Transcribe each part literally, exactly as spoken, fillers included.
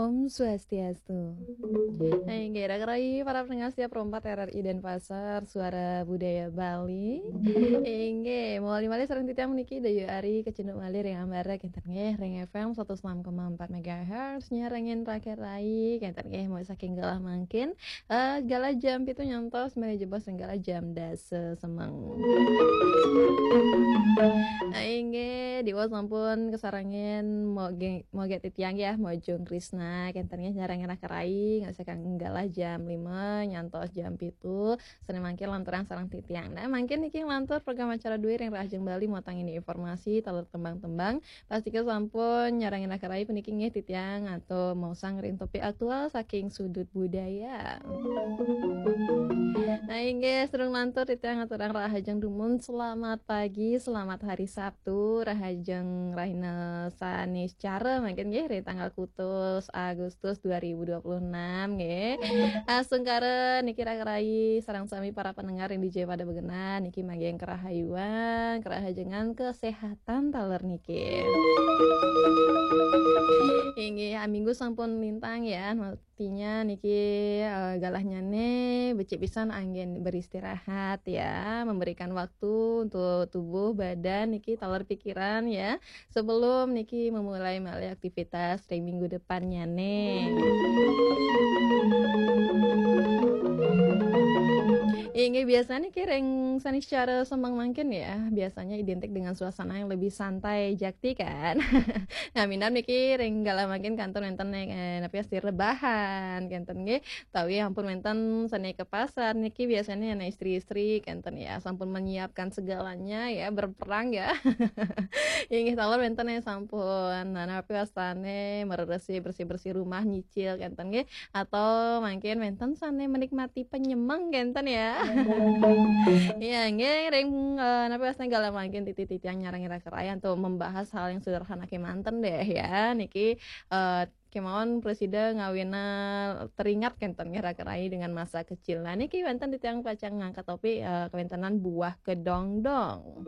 Om Swastiastu. Inggih, raka rayi para pendengar setia Pro empat R R I Denpasar, Suara Budaya Bali. Inggih, mawali malih sareng titiang puniki Dayu Ari kacunduk malih ring ambara kenten nggih ring F M satus enam koma empat megahertz nyarengin raka rayi kenten nggih mau saking galah mangkin. Eh, galah jam pitu nyantos malih jebos ring galah jam dasa semeng. Nah, inggih, diwau sampun kasarengin moge-, moge titiang ya, Mojong Krisna, kenten nggih nyarengin raka rayi, ngasakan galah jam lima nyantos jam pitu, sane mangkin lanturang sareng titiang. Nah, mangkin niki lantur program acara Dwi ring Rahajeng Bali, mawatangin informasi, taler tembang-tembang, pastika sampun nyarengin raka rayi puniki nggih titiang atau mausang ring topik aktual saking sudut budaya. Nah, inggih, sadurung lantur titiang ngaturang rahajeng dumun, selamat pagi, selamat hari Sabtu, rahajeng rahina Saniscara mangkin nggih, ring tanggal kutus Agustus dua ribu dua puluh enam nggih. Astungkara niki raka rayi sareng sami para pendengar ring dija pada begenan niki manggih karahayuan, karahajengan, kesehatan taler niki. Inggih, minggu sampun lintang ya, artinya niki, eh, galahnyane becik pisan anggen beristirahat ya, memberikan waktu untuk tubuh, badan niki taler pikiran ya, sebelum niki memulai malih aktivitas ring minggu depannyane. Inggih, biasanya niki ring Saniscara semeng mangkin ya, biasanya identik dengan suasana yang lebih santai jakti kan. Nah, minab niki ring galah mangkin kantun wenten, eh, napi asti rebahan kenten nggih. Tawi ampun wenten sane ke pasar niki biasanya anak istri-istri kenten ya, sampun menyiapkan segalanya ya, berperang ya. Inggih taler wenten ya sampun. Nah, napi wastane mereresi, bersih-bersih rumah, nyicil kenten nggih. Atau mangkin wenten sane menikmati penyemeng kenten ya. Iya, nggih ring, eh, napi wastane galah mangkin titi-titiang nyarengin raka rayi untuk membahas hal yang sederhana kemanten deh ya. Niki, eh, kemawon prasida ngawina teringat kenten nggih raka rayi dengan masa kecil. Nah, niki wenten titiang pacang ngangkat topik, eh, kawentenan buah kedongdong.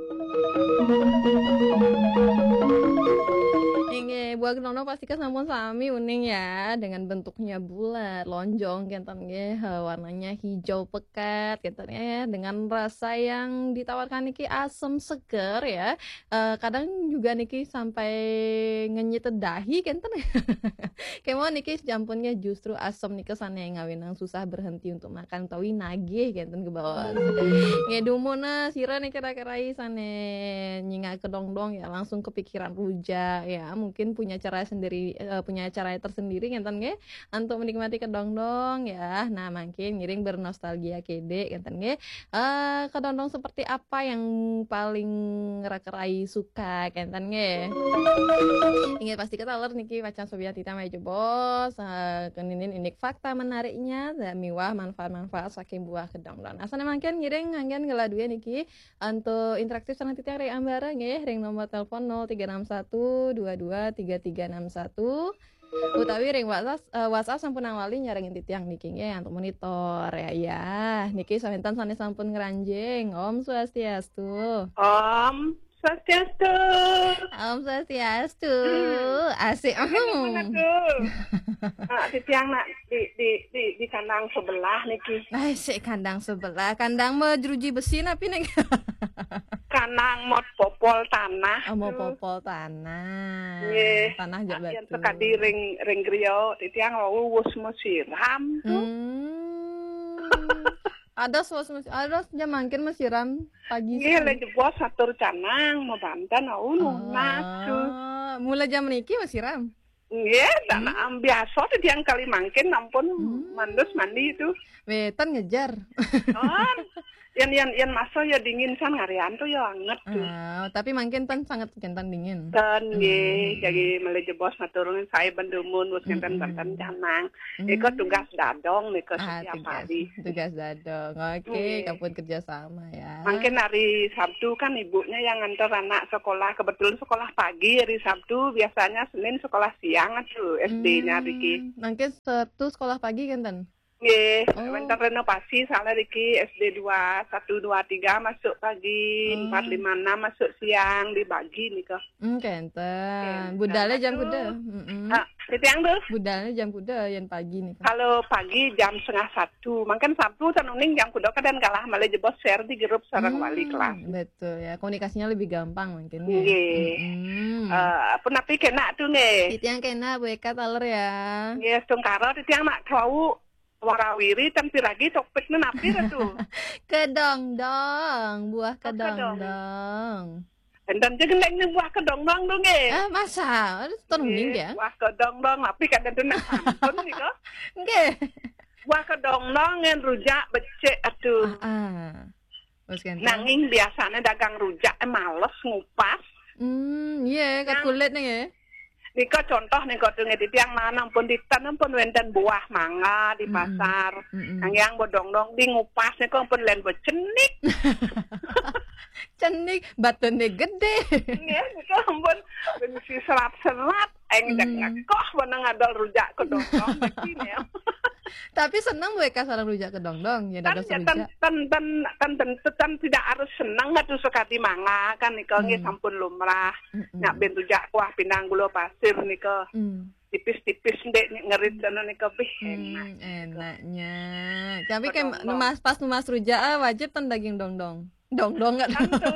Inggih, buah kedongdong pastika sampun sami uning ya, dengan bentuknya bulat, lonjong kenten nggih, eh, warnanya hijau pekat kenten ya, dengan rasa yang ditawarkan niki asam seger ya. Eh, kadang juga niki sampai ngenyit dahi kenten. Kemawon niki sampunnya justru asam nika sane ngawinang susah berhenti untuk makan utawi nagih kenten kebawon. Nggih dumun nah sira niki raka rayi sane nyingak kedongdong ya, langsung kepikiran rujak ya. Mungkin punya cara sendiri, eh, punya cara tersendiri kenten nggih untuk menikmati kedongdong ya. Nah, mangkin ngiring bernostalgia kede kenten nggih. Eh, kedondong seperti apa yang paling raka rayi suka kenten nggih? Inggih pastika taler niki pacang sobian titiang malih jebos, eh, keninin indik fakta menariknya dan miwah manfaat-manfaat saking buah kedongdong. Nah, sane mangkin ngiring anggen galah duwe niki antuk interaktif sareng titiang ring ambara nggih ring nomor telepon nol tiga enam satu dua dua tiga tiga enam satu. Utawi ring WhatsApp, eh, WhatsApp sampun nawali nyarengin titiang niki nggih antuk monitor ya. Ya, niki sawentan sane sampun ngranjing. Om Swastiastu. Om Swastiastu. Om Swastiastu. Hmm. Asik. Aduh. Ah, titiang nak di, di, di, di kandang sebelah niki. Asik kandang sebelah. Kandang mau jeruji besi napi nih? Kandang mau popol tanah. Oh, mau popol tanah. Nggih. Tanah jak batu. Sekadi ring, ring griya, titiang wau wus masiram tu. Hmm. Ada sos mas-, ada jam mangkin masiram pagi. Nggih, le jebos atur canang, mau banten, au, nunas tu. Ah, mula jam niki masiram? Nggih, dan, hmm, am, biasa tu tiang kali mangkin ampun mandus mandi tu. Wetan ngejar. Oh, yang, yang, yang masa ya dingin san ngarian tu ya anget tu. Ah, tapi mangkin tan sangat kenten dingin. Tan nggih, jadi mele jebos matur nuwun sae ben dumun wis ngenten-ngenten canang. Iko tugas dadong nika setiap hari. Tugas dadong. Oke, nggih. Kapun kerja sama ya. Mangkin hari Sabtu kan ibunya yang nganter anak sekolah, kebetulan sekolah pagi hari Sabtu, biasanya Senin sekolah siang tu S D-nya riki. Mangkin Sabtu sekolah pagi kenten? Nggih, wenten renovasi soalnya riki S D dua satu dua tiga masuk pagi, empat lima enam masuk siang, dibagi nika. Hmm, kenten. Budalnya jam kuda. Ah, Titiang tuh. Budalnya jam kuda yang pagi nih. Kalau pagi jam setengah satu, mungkin Sabtu ten uning jam kuda kadang kalah malah jebos share di grup sareng wali kelas. Betul ya, komunikasinya lebih gampang mungkin ya. Nggih. Mm-mm. Eh, apa napi kena tuh nggih? Titiang kena Bu Eka taler ya. Nggih, tungkara titiang nak tahu warawiri ten piragi topiknya napi tuh. Kedongdong, buah kedongdong. Kedong. Enten je gendeng ni buah kedongdong tu nggih. Ah, masa? Ada ton uning dia? Buah kedongdong, tapi kadang tu nak pantun ni ko. Nggih. Buah kedongdong ngan rujak becik atuh. Ah, ah. Terus kan? Nanging biasanya dagang rujak eh, males ngupas. Hmm, iya, kat kulit nih ya. Nika contoh nih kok nggih titiang mana pun di tan pun wenten buah mangga di pasar. Mm-mm. Nang yang bodong-dong di ngupas nih kok pun len bocenik. Cenik, batune gede. Nggih, nika ampun ben si serat-serat, eng dek ngekoh mana ngadol rujak kedongdong begini ya. Tapi seneng Bu Eka sareng rujak kedongdong ya, dados rujak. Tan, tan, tan, tan tidak harus seneng atuh sekali mangga kan nika nggih sampun lumrah. Mm-mm. Nyak ben rujak kuah pinang gula pasir nika. Mm. Tipis-tipis ndek ngerit sana nika bih enak. Hmm, enaknya. Tapi kayak numas, pas numas rujak ah, wajib tan daging dongdong. Dongdong nggak? Tentu.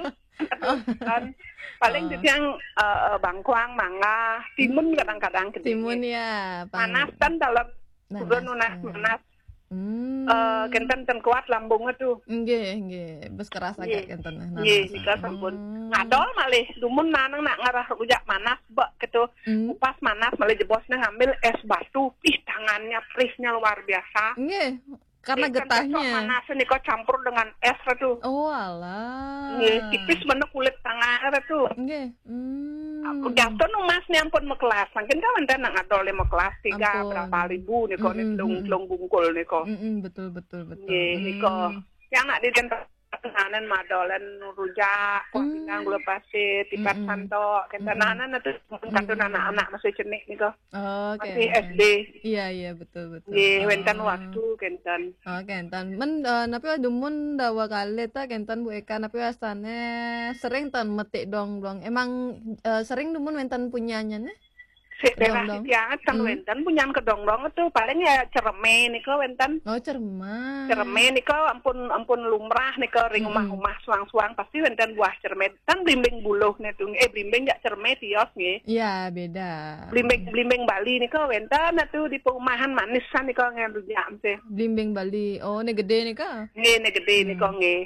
Kan paling titiang eh, eh, bangkuang, mangga, timun kadang-kadang keding. Timun ya, panas kan dalam turun nunas panas. Hmm. Eh, kenten ten kuat lambungnya tuh. Nggih, nggih. Bes keras agak kenten. Nggih, nika sampun. Hmm. Ngadol malih dumun nanang nak ngarah rujak manas bek gitu. Hmm. Upas manas malih jebosnya ngambil es batu. Ih, tangannya perihnya luar biasa. Nggih. Karena getahnya. Mana sih niko campur dengan es tuh. Oh alah. Nggih, tipis mana kulit tangan tuh. Nggih. Hmm. Aku jatuh nu mas ni ampun mekelas. Mungkin kan enten nak ngadol mekelas tiga berapa ribu niko ni telung telung bungkul niko. Mm-mm, betul betul betul. Nggih, niko. Yang nak di nanen madolen rujak, kuah pinang gula pasir, tipat santok, kenten nanen itu kantun anak-anak masih cenik nika. Oh, masih S D. Iya iya betul betul. Nggih, wenten waktu kenten. Oh, kenten. Men eh, napi dumun dawa kali ta kenten Bu Eka napi wasane sering tan metik dongdong. Emang eh, sering dumun wenten punyanya nih? Sik daerah titiangan kan wenten punyan kedongdong itu paling ya cereme nika wenten. Oh, cereme. Cereme nika ampun ampun lumrah nika ring rumah-rumah suang-suang pasti wenten buah cereme. Kan blimbing buluh nitu eh blimbing jak cereme tios nggih. Iya, beda. Blimbing blimbing Bali nika wenten atuh di perumahan manis nika ngan rujak mesti. Blimbing Bali. Oh, ini gede nika. Nggih, ini gede nika nggih.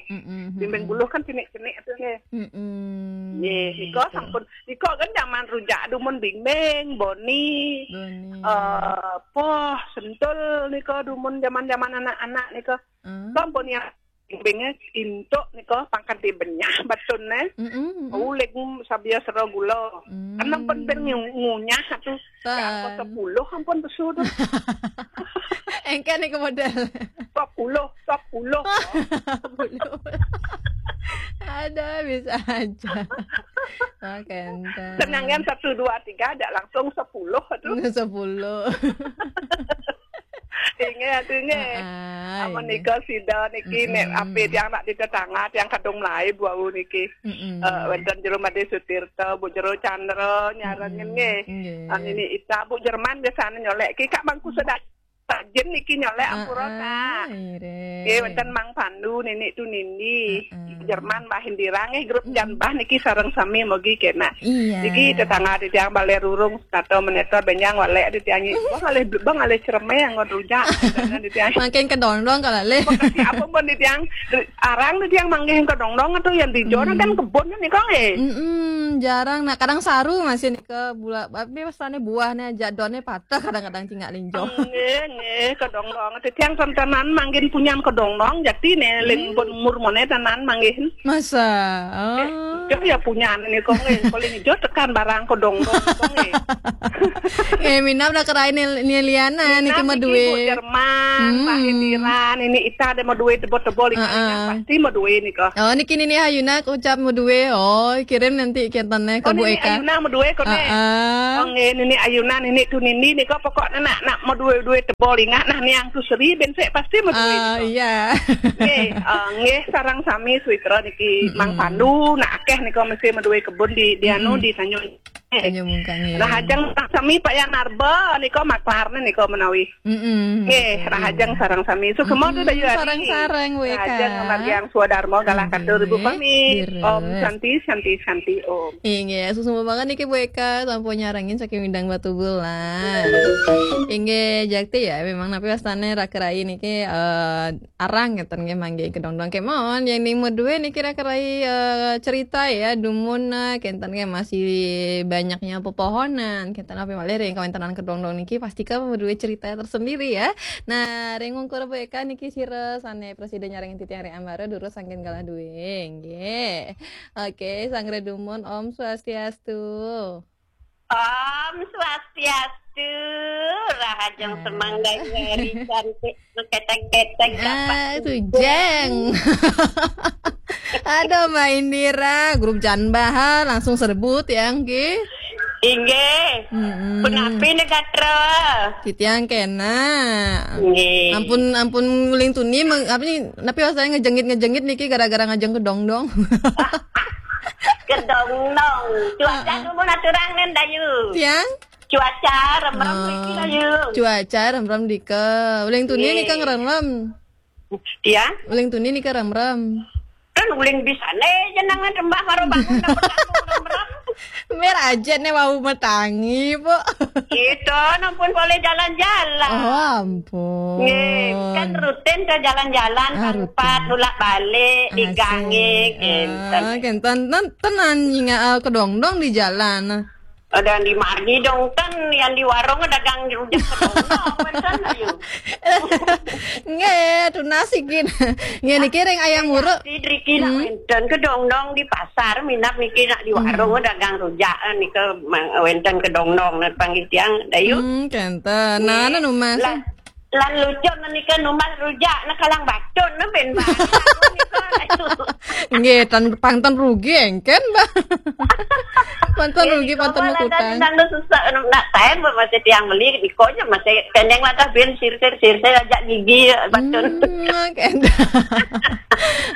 Blimbing buluh kan cenik-cenik atuh nggih. Mm-mm. Nggih, nika sampun Iko kan zaman rujak dumun bimbing, boni. Boni. Eh, poh, sentul niko dumun zaman-zaman anak-anak niko. Hmm. Sampun yang bimbingnya intuk niko pangkat di benyah batune. Mm-mm. Ulik sabia sero gula. Hmm. Kan ampun ben ngu- ngunyah tu. Tan. Yang sepuluh ampun pesu tu. Engke niko model. Sepuluh, sepuluh. Sepuluh. Ada bisa aja. Oke, entar. Senangan satu dua tiga ada langsung sepuluh tu. Sepuluh. Ingat tu ingat. Ah, amun nika sida niki nek ape tiang nak di tetangga tiang kadung mulai bau niki. Mm-mm. Eh, wenten jero Made Sutirta, Bu Jero Chandra nyarengin nggih. Nggih. Ah, nini Ita, Bu Jerman biasane nyolek ki kak bangku sedang. Sajen niki nyolek ampura ta. Nggih wenten Mang Pandu nini tu nini. Jerman Mbah Indira nggih grup jan Mbah niki sareng sami mogi kena. Iya. Niki tetangga di tiang Bale Rurung Tato Menetor Benjang walek di tiang. Bang alih bang alih cereme yang ngon rujak. Di tiang. Makin kedondong kalau le. Apa pun di tiang arang di tiang manggih kedondong atau yang di jona kan kebun nih kong eh. Mm-mm, jarang. Nah, kadang saru masih nih ke bula tapi pesannya buahnya jadonnya patah kadang-kadang cingak linjo. Nggih, nggih, kedongdong. Titiang tentenan mangkin punyan kedongdong jati ne lin pun umur mone tenan mangkin. Masa? Oh. Yo ya punyan ni kong eh. Paling ijo tekan barang kedongdong kong eh. Eh, minam dah kerai ni ni liana ni Minam cuma niki duit. Bu Jerman, Mbah Indiran, ini ita ada mau duit tebol-tebol ini pasti mau duit ni kok. Oh, niki nini Hayuna ucap mau duit. Oh, kirim nanti kenten ke Oh, Bu nini Eka. Ayuna mau duit kok ni. Heeh. Oh, nggih, nini Ayuna nini tu nini ni kok pokoknya nak nak mau duit duit tebol ingat nah ni yang tu seri ben sik pasti mau duit. Ah, iya. Nggih, eh, nggih sarang sami suitra niki Mang Pandu nak akeh nika mesti mau duit kebun di di anu di Tanjung. Hanya mungkang ya. Rahajeng sareng sami Pak Yanarba nika maklarne nika menawi. Mm-mm. Nggih, rahajeng sareng sami. Sugeng mawon, Dayu Ari. Sareng-sareng, W K. Rahajeng margiang swadarma galah katur Ibu Pami. Om Santi, Santi, Santi, Om. Inggih, suksma banget niki Bu Eka, sampun nyarengin saking Windang Batubulan. Inggih, jakti ya, memang napi wastane Raka Rai niki, eh, arang ngeten nggih manggi kedongdong kemawon. Yang ning medue niki Raka Rai, eh, cerita ya, dumun, eh, kenten nggih masih banyaknya pepohonan. Kenten napi malih ring kawentenan kedongdong niki pasti kan medue cerita tersendiri ya. Nah, ring wungkur Bu Eka niki sira sane prasida nyarengin titiang ring ambara durus sangkin galah due. Nggih. Oke, sanggra dumun, Om Swastiastu. Om Swastiastu, rahajeng semanggaing hari cantik, keteng-keteng. Ah, tujeng. Aduh, Mbak Indira, grup Janbah langsung serbut ya, nggih. Inggih. Mm-mm. Punapi negatra? Titiang kena. Nggih. Ampun, ampun uling tuni, meng-, apa nih, napi wastane ngejengit-ngejengit niki gara-gara ngajeng kedongdong. Kedongdong. Cuaca dumun aturang nen, Dayu. Tiang? Cuaca remrem niki, Dayu. Cuaca remrem dika. Uling tuni nika ngremrem. Tiang? Uling tuni nika remrem. Kan uling bisane jenengan rembah karo bangun nang pertama remrem. Mir aja ne wau metangi, Bu. Itu nampun boleh jalan-jalan. Oh, ampun. Nggih, kan rutin ke jalan-jalan, ah, rutin. Pangkat nulak-balik, asik. Digange, kenten. Ah, kenten. Ten-, tenan nyinga, eh, kedongdong di jalan. Ada yang di margi dong, kan yang di warung dagang rujak kedongdong, kan, ayo. Nggih, tunas iki. Nggih, niki ring ayam uruk. Sidriki nak wenten kedongdong di pasar, minap niki nak di warung dagang rujak, eh, nika ma-, wenten kedongdong, nak panggih tiang, Dayu. Hmm, kenten. Nah, nggih. Anu, Mas. Lah, lan lucu menika numbas rujak, nah, kalang batun, nah, ben banget. Nggih, tan-, pang ten rugi engken, Mbak. Pang ten rugi, pang ten mekutang. Nang susah, nak taen, Mbak, masih tiang beli, dikonya masih kendeng lah, dah ben sirtir, sirtir aja gigi, batun. Hmm, oke.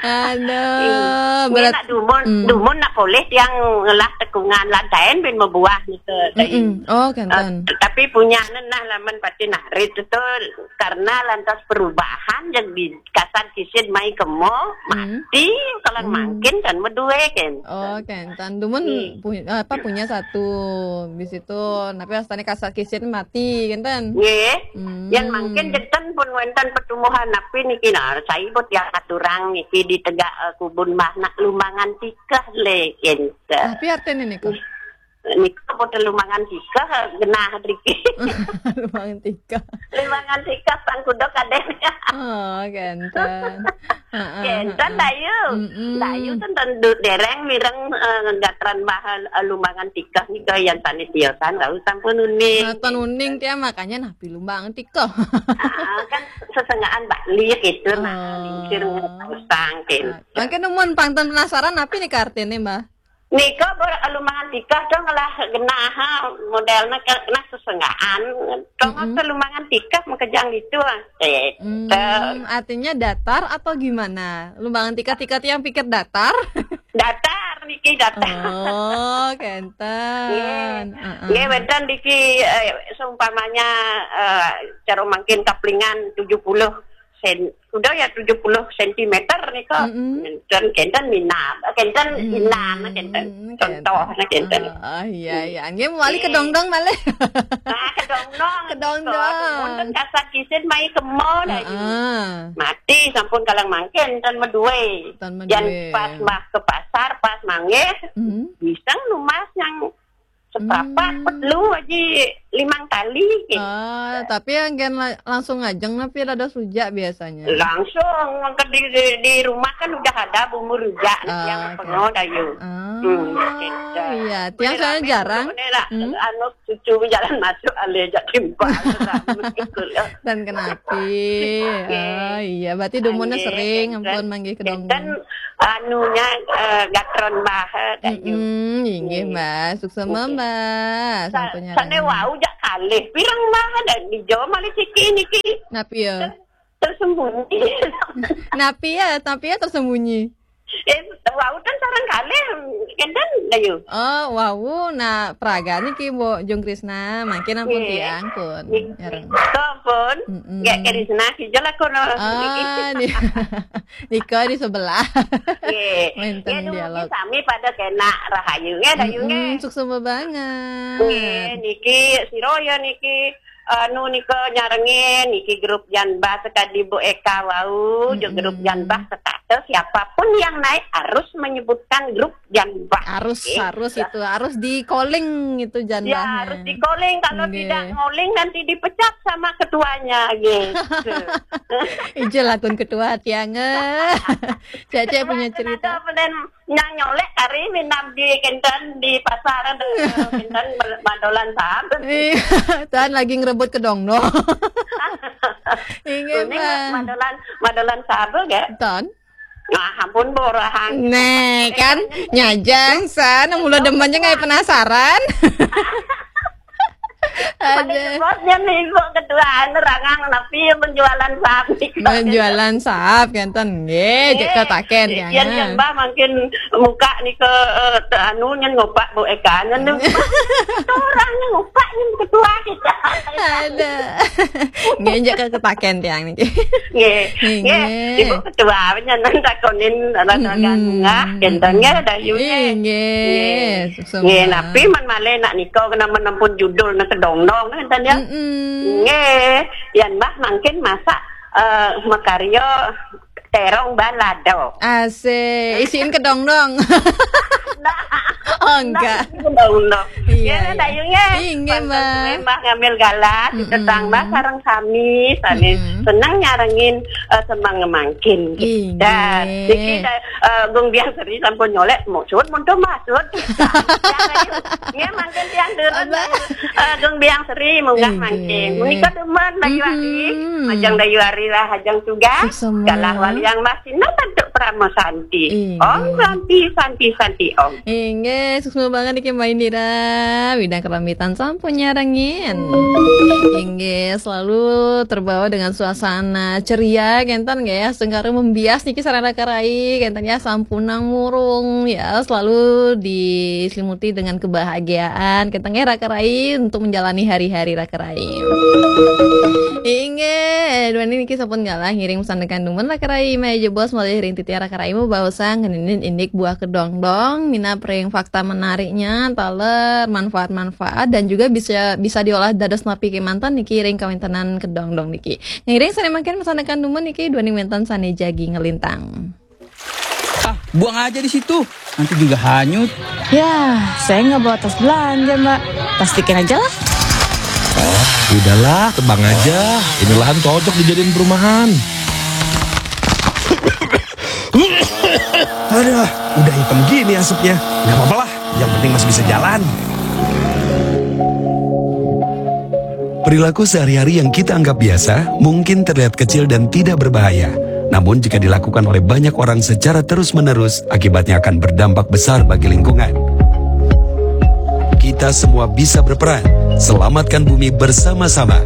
Aduh, berat. Nak dumun, hmm. Dumun nak poleh tiang ngelah tekungan lan taen ben mebuah gitu. Mm-mm. Oh, kenten. Eh, tapi punya nenah laman pati narit itu karena lantas perubahan yang di kasat kisit mai kemo, hmm, mati, kalau, hmm, mangkin kan medue kan. Oh, kenten. Dumun, hmm, pu-, apa, punya satu, di situ, tapi astane kasat kisit mati, kenten. Nggih. Hmm. Yang mangkin jenten pun wenten pertumbuhan napi niki, nah, saya buat yang aturang niki di tegak, eh, kubun mah nak lumbangan tikah le, kenten. Tapi artine niku? Niku boten lumbangan tikah, genah driki. Lumbangan tikah. Lumbangan tikah, sang kuda kadeh. Oh, kenten. Heeh, kenten, heeh. Dayu. Mm-mm. Dayu ten, ten du-, dereng mireng, eh, gatran bahan, eh, lumbangan tikah nika yang tani tiosan, lalu sampun uning. Nah, ten uning tiang, makanya napi lumbangan tikah. Ah, kan sesengaan Bali gitu, nah, oh, lingsir ngepasang, kenten. Mangkin numun pang ten penasaran, napi nika artine, Mbah? Nika ber-, lumbangan tikah to ngelah genah, ha, modelnya ke-, kena sesenggaan. Tongo, mm-mm, ke lumbangan tikah makejang itu, ah. Eh, hmm, artinya datar atau gimana? Lumbangan tikah-tikah tiang pikir datar? Datar, niki datar. Oh, kenten. Nggih. Heeh. Nggih, wenten niki, eh, seumpamanya, eh, cara mangkin kaplingan tujuh puluh sen-, udah ya tujuh puluh sentimeter nika. Mm-mm. Kenten, kenten minat, kenten, mm, inam, kenten. Contoh, nah, kenten. Oh, iya, iya. Nggih, mawali kedongdong malih. Nah, kedongdong. Kedongdong. Wonten kasat kisit mai kemo, nah, heeh, mati sampun kalang mangkin, ten medue. Ten medue. Yang pas mah ke pasar, pas manggih, mm-hmm, bisa numbas yang seprapat, hmm, perlu aja limang tali, gitu. Ah, tapi yang gen la-, langsung ngajeng napi dados rujak biasanya? Langsung, ke di, di, di rumah kan udah ada bumbu rujak, ah, yang oke, pengo, Dayu. Ah, hmm, gitu. Iya, tiang soalnya jarang. Ini lah, hmm, anu, cucu jalan masuk, ale jak timpal. Dan kenapi. Nggih. Oh, iya, berarti dumunnya sering, nggih, ampun, manggih kedongdong. Kan anunya, eh, gatron Mbah, eh, Dayu. Mm-mm, inggih, nggih, Mbah. Suksema, nggih, Mbah. Sa-, sampunnya sane rame. Wau jak kalih. Pirang Mbah ada di Jawa malih siki niki? Napi ya? Ter-, tersembunyi. Napi ya, napi ya tersembunyi? Eh, wau ten sareng kalih, kenten, Dayu. Oh, wau, nah, praga niki, Mbok Jung Krisna, mangkin ampun Nggih. Tiang pun. Niki, Nyareng. to pun. Mm-mm. Nggih, Krisna, sijil aku no. Ah, di, nika di sebelah. Nggih. Wenten Nggih, dugi dialog. Sami pada kena rahayu nggih, Dayu nggih. Mm-mm, suksma banget. Nggih, niki sira ya niki anu nika nyarengin niki grup Janbah sekadi Bu Eka wau, Mm-mm. juga grup Janbah sekata siapapun yang naik harus menyebutkan grup Janbah. Harus, Nggih. harus itu, harus di calling itu Janbah. Ya, harus di calling. Kalau Nggih. Tidak calling nanti dipecat sama ketuanya gitu. Ijil lakun ketua Tiang. Eh. Cece punya cerita. Ada penen nyang nyolek kari minab di kenten di pasar ada kenten madolan sahab. Iya, Tan lagi ngerebut kedong dong. Inggih, Ini Bang. Madolan madolan sahab ya. Tan. Nah, ampun borahang. Nih kan, nyajang san, mula demen aja nggak penasaran. Ada Ada. Sebabnya nih kok ketuaan rangang tapi yang penjualan sapi. Penjualan sahab kenten nggih, cek ketaken ya. Yang yang bah makin muka nih ke eh, te- anu nyen ngopak Bu Eka nyen nih. Orangnya ngopak nyen ketua kita. Ada. Nggih, cek ketaken Tiang niki. Nggih, Nggih. nggih. Ibu ketua nyen takonin rada Mm-mm. ngah kenten nggih Dayu nggih. Inggih, suksma. Nggih, napi man malih nak nika kena menampun judul nak kedong-dong kenten ya. Mm-mm. Nggih, yan bah mangkin masak eh, makarya terong balado. Asik, isiin kedong dong. Oh, enggak. Kedong-dong. Iya, Ya, iya. Dayu nggih. Inggih, Pantun Mbak. suwe, Mbah ngambil galah, Mm-mm. tetangga sareng sami, sami Mm-mm. seneng nyarengin eh, semang ngemangkin. Inggih. Dah, niki da- eh, Gung Biang Seri sampun nyolek, maksud muntun maksud. Nggih, mangkin tiang turun. Abah. Eh, Gung Biang Seri munggah Inggih. mangkin. Menika demen Dayu Adi. Mhm. Ajang Dayu Ari lah, ajang tugas. Suksma. Galah waliang masih nang tentu Prama Santi. Inggih. Om Santi, Santi, Santi, Om. Inggih, suksma banget niki Mbak Indira. Widang keramitan sampun nyarengin. Inggih, selalu terbawa dengan suasana ceria kenten nggih ya. Sengkara membias niki sareng raka rai kenten ya, sampunang murung ya, selalu diselimuti dengan kebahagiaan kenten nggih raka rai untuk menjalani hari-hari raka rai. Inggih, duaning niki sampun galah ngiring pesan tekan dumun raka rai, maya jebos malih ring titiang raka rai mabaosan ngeninin indik buah kedongdong, minab ring fakta menariknya, taler manfaat-manfaat dan juga bisa bisa diolah dados napi kemanten niki ring kawentenan kedongdong niki. Ngiring sane mangkin pesan tekan dumun niki duaning wenten sane jagi ngelintang. Ah, buang aja di situ. Nanti juga hanyut. Ya, saya nggak bawa tas belanja, Mbak. Plastikin aja lah. Udahlah, tebang aja. Ini lahan cocok dijadiin perumahan. Aduh, udah hitam gini asapnya. Nggak apa-apa lah, yang penting masih bisa jalan. Perilaku sehari-hari yang kita anggap biasa mungkin terlihat kecil dan tidak berbahaya. Namun jika dilakukan oleh banyak orang secara terus-menerus, akibatnya akan berdampak besar bagi lingkungan. Kita semua bisa berperan. Selamatkan bumi bersama-sama.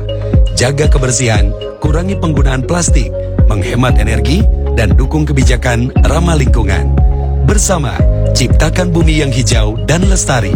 Jaga kebersihan, kurangi penggunaan plastik, menghemat energi, dan dukung kebijakan ramah lingkungan. Bersama, ciptakan bumi yang hijau dan lestari.